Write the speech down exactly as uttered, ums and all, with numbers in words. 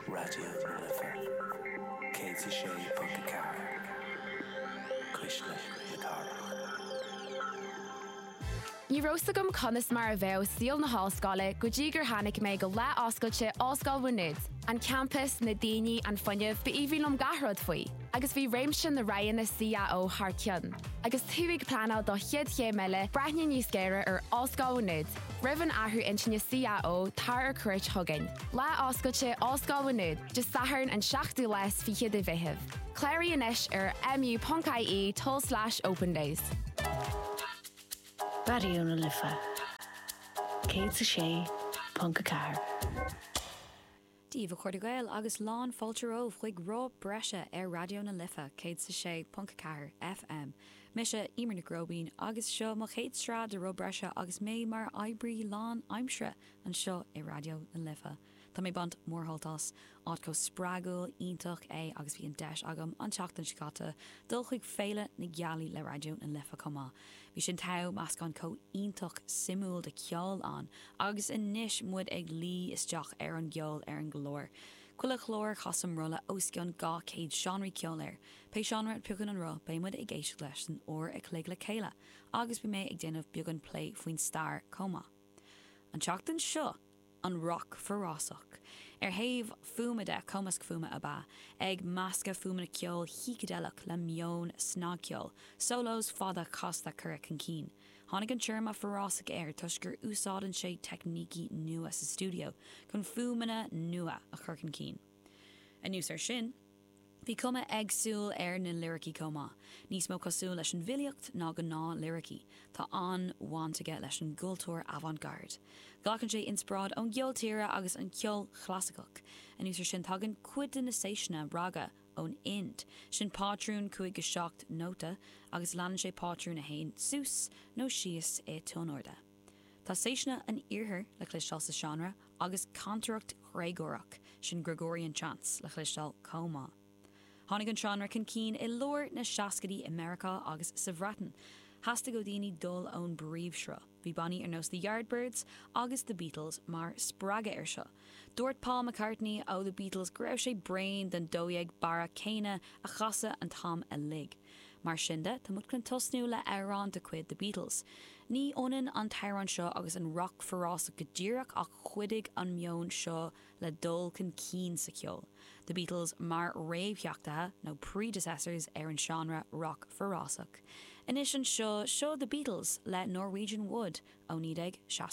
Raidió na Life céad a sé ponc a ceathair Cuisle na Cathrach. Ní raibh a fhios agam conas mar a bheadh saol na hollscoile go dtí gur tháinig mé go lá oscailte Ollscoil Mhá Nuad, an campas na daoine an fuinneamh b'aoibhinn liom gach rud faoi, agus bhí réimse na roghanna CAO thar cionn. Agus tú ag pleanáil do chéad chéim eile breathnaigh níos géire ar Ollscoil Mhá Nuad, Roimh an athrú intinne CAO tar ar cuairt chugainn. Lá oscailte Ollscoil Mhá Nuad, Dé Sathairn an seachtú lá is fiche de Mheitheamh. Cláraigh anois ar mu.ie tulslais open days. Raidió na Life céad a sé ponc a ceathair. Dia daoibh a chairde Gael agus lán fáilte romhaibh chuig Roth Breise ar Raidió na Life céad a sé ponc ceathair FM. Mise Emer Nic Róibín agus seo mo chéad sraith de Roth Breise agus mé mar oibrí lánaimseartha anseo i Raidió na Life. Tá mé ag baint mórshult as áit chomh spreagúil iontach é agus bhí an deis agam an tseachtain seo caite dul chuig Féile na Gealaí le Raidió na Life chomh maith. Bhí sin togha meascán chomh iontach suimiúil de cheol ann, agus anois muid ag luí isteach ar an gceol ar an gclár. Chuile chlár casaim rolla os cionn dhá chéad seánraí ceoil air. Pé seánra a phiocann an roth beidh muid ag éisteacht leis san uair a chloig le chéile, agus beidh mé ag déanamh beagán plé faoin stair chomh maith. An tseachtain seo an rock forásach. Ar thaobh fuaime de cumasc fuaime ab ea, ag meascadh fuaimeanna ceoil shícideileach le meon snagcheoil, solos fada casta curtha chun cinn. Tháinig an téarma forásach air toisc gur úsáideann sé teicnící nua sa stiúideo chun fuaimeanna nua a chur chun cinn. Anuas air sin, Bhí cuma éagsúil ar na liricí chomh maith, níos mó cosúil leis an bhfilíocht ná gnáth-liricí, Tá an-bhaint aige leis an gcultúr avant-garde. Glacann sé inspioráid ón gceol tíre agus an ceol clasaiceach. Anuas air sin tagann cuid de na séiseanna raga ón Ind, sin pátrún cúig go seacht nóta agus leanann sé pátrún a théann suas nó síos i dtuinairde. Tá séiseanna an iarthair le cloisteáil sa seánra agus cantaireacht Ghréagórach sin Gregorian chants le cloisteáil chomh maith. Tháinig an seánra chun cinn i lár na seascaidí i Meiriceá agus sa Bhreatain. Theastaigh ó daoine dul ón bpríomhshruth. Bhí bannaí ar nós the Yardbirds agus the Beatles mar spreagadh air seo. Dúirt Paul McCartney ó the Beatles go raibh sé bréan den dó dhéag barra céanna a chasadh an t-am uilig. Mar sin de tá muid chun tosnú le amhrán de chuid the Beatles. Ní ionann an t-amhrán seo agus an rock forásach go díreach ach chuidigh an meon seo le dul chun cinn sa cheol. The Beatles mar réamhtheachtaithe nó predecessors ar an seánra rock forásach. Anois anseo seo the Beatles le Norwegian Wood ó naoi déag seasca.